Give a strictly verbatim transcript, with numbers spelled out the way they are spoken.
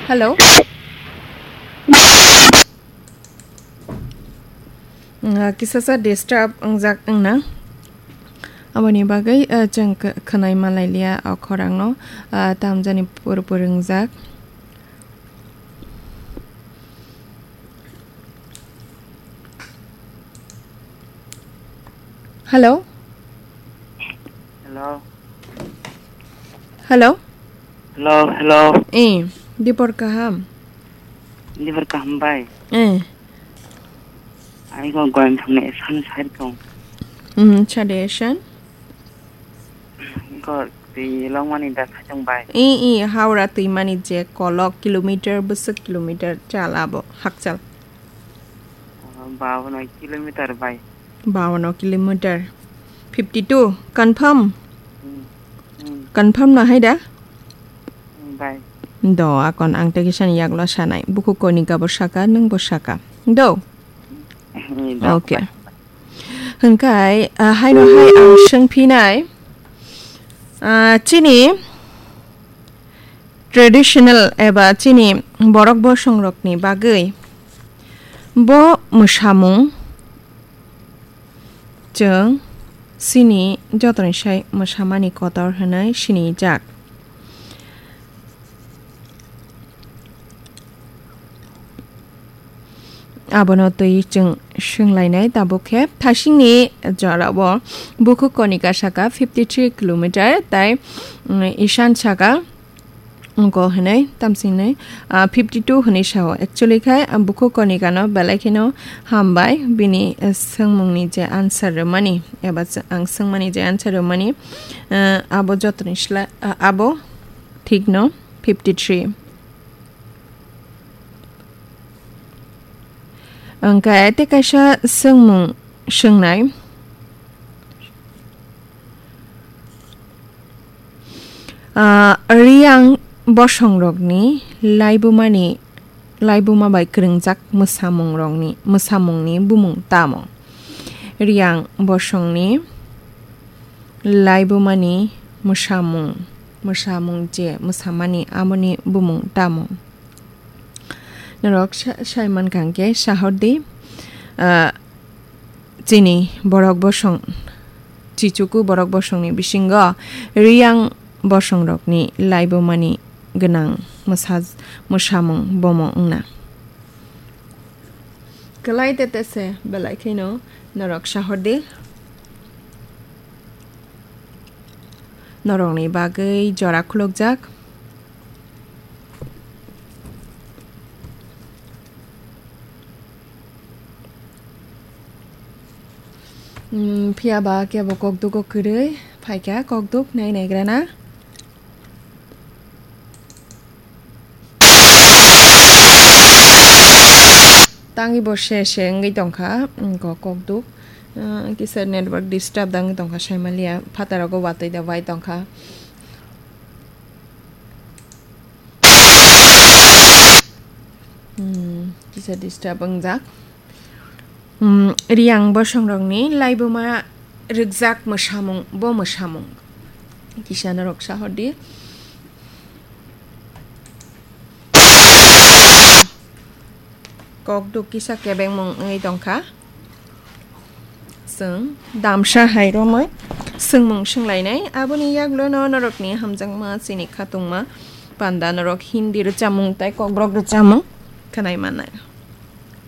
Hello. Ah, kisasa disturb wngjak wngna. Aboni bagwi, ah, chwng kh-, khwnai ma lailiya o khorangno, ah, tamjani pur pur wngjak. Hello? Hello? Hello? Hello, hello. Eh, dipor kaham? Dipor kaham bai. Eh. Ai go goyang thangni esan side kong. Hmm, chade esan? Go twi longmani da khachang bai. Eh, eh, Howrah twimani je kolok kilometer bwswk kilometer chal abo, hakchal. Bawono kilometer bai. Bawono kilometer. Fifty two, confirm? Hmm, hmm. Confirm no hai da? Hmm, bai. Do, akon ang tei kisani yaklo sanai. Bukhuk Konika bo saka, nwng bo saka. Do? Hmm, do, okay. Bai. Hwnkhe, ah, haino hai ang swngphinai, ah, chini traditional eba chini borok bosongrokni bagwi bo mwsamung chwng chini jotoni sai mwsamani kotor hwnwi sinijak. Abono twi chwng swnglainai, tabuk khe thasingni jorao Bukhuk Konika saka fifty three kilometer, tai, mm, Ishan saka wngkha hwnwi tamsingnai, ah, fifty two hwnwi sao. Actually khe, ah, Bukhuk Konikano belai kheno hambai bini, eh, swngmungni je answer rwmani, eba s-, ang swngmani je answer rwmani, eh, abo jotoni sla-, ah, abo thikno fifty three. Hwnkhe tei kaisa swngmung swngnai. Ah, Riyang bosongrokni laibumani, laibuma bai kwrwngjak mwsamungrokni, mwsamungni bumung tamo? Riyang bosongni laibumani mwsamung, mwsamung je mwsamani amoni bumung tamo? Norok sa-, sai mankha hwnkhe sahordi, ah, chini borok bosong, chichuku borok bosongni bisingo Riyang bosongrokni laibumani gwnang mwsa-, mwsamung bomo wngna. Kwlai tete se belai kheno norok sahordi. Norokni bagwi jora khulukjak. Hmm, phiya ba kebo kokduk o kwrwi phaikha, kokduk nai naigrana. Tangwi bo se se wngwi tongkha, wngkha kokduk. Ah, kisa network disturb da wngwi tongkha, saimaliya, phataro go watwi da bai tongkha. Hmm, kisa disturb wngjak. Hmm, Riyang bosongrokni laibuma rwkjak mwsamung, bo mwsamung. Kisa norok sahordi. Kokduk kisa kebengmung wngwi tongkha. Chwng damsa hai romwi swngmung swnglainai. Aboni yaklono norokni hamjakma chini khatungma panda norok Hindi rwchapmung tei kokborok rwchapmung khwnai mannai.